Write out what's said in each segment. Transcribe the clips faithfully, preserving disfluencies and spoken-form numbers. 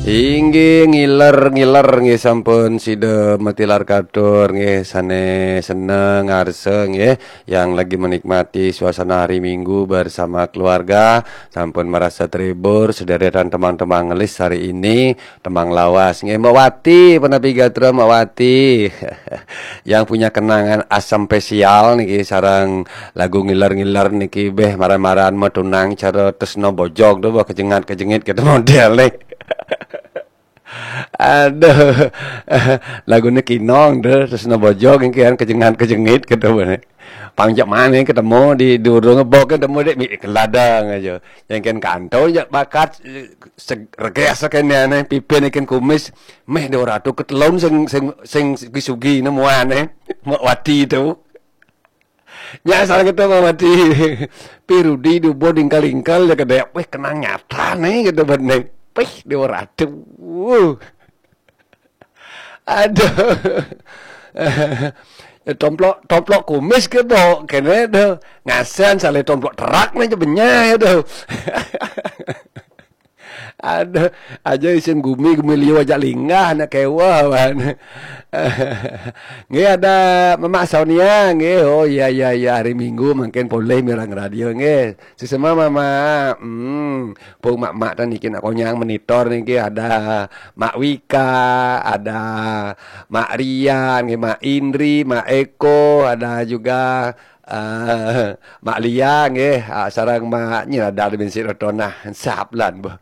Inggih ngiler-ngiler nggih sampun sida matilar katur nggih sane seneng ngarsa nggih yang lagi menikmati suasana hari Minggu bersama keluarga sampun merasa terhibur sederetan temang-temang ngelis hari ini temang lawas nggih Mbak Wati penapi gatra Mbak Wati yang punya kenangan asam spesial niki sarang lagu ngiler-ngiler niki beh maran-maran metunang cara tresno bojog tu bah kejengat-kejengit kita model nih. Aduh. Lagune kinong deh terus no bojog kan kejengan kejengit ketemu nih. Pangjak mana ketemu di durung bok ketemu dek mi keladang aja. Yang kan kantor jak bakat reges kene aneh pipin ikan kumis meh dua ratus ketelun sing sing sing sugi-sugi nemuan eh. Mak wati itu. Nyasar kita mau mati. Pirudi dubo dingkal-ingkal ya kedek. Wih kenang nyata nih gitu bening. Pih dua ratus. Aduh. Tomplok tomplok kumis ke bo kene do ngasan sale tomplok terak nih benyai do. Aduh, aja isin gumi gumi liu aja linggah nak kewa wan. Nggih ada Mamak Sonia nggih. Oh iya iya iya hari Minggu mungkin boleh mirang radio nggih. Sesama Mamak. Hmm, pung Mamak tan niki nak konyang monitor niki ada Mak Wika, ada Mak Rian, nggih Mak Indri, Mak Eko, ada juga eh Mak Lia nggih, ah, sarang Mak Nyirada bin Sik Rotonah. Saplan boh.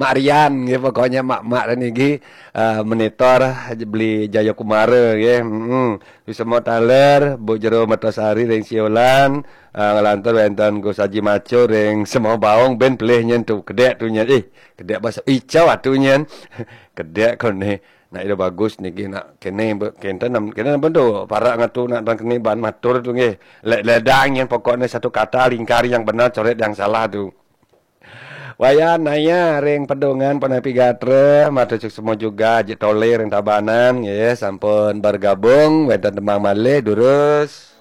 Mak Rian nggih pokoknya mak-mak niki eh, monitor beli Jayakumara nggih. Heeh. Semua taler Bu Jero Mertasari ring Siolan eh, ngelantur wenten Gus Haji Maco ring Semua Baung ben pelih nyen tu kedek tu nyen. Eh, kedek bahasa icau atu nyen. Kedek kon ni. Nak ida bagus niki nak kene kenten kene apa tu para ngatu nak tang kene ban matur tu nggih. Lek ledang nyen pokoknya satu kata lingkar yang benar coret yang salah tu. Wayan naya ring pedungan panapi gatra matur semua juga Haji Tole ring Tabanan nggih sampun bergabung wenten tembang malih durus.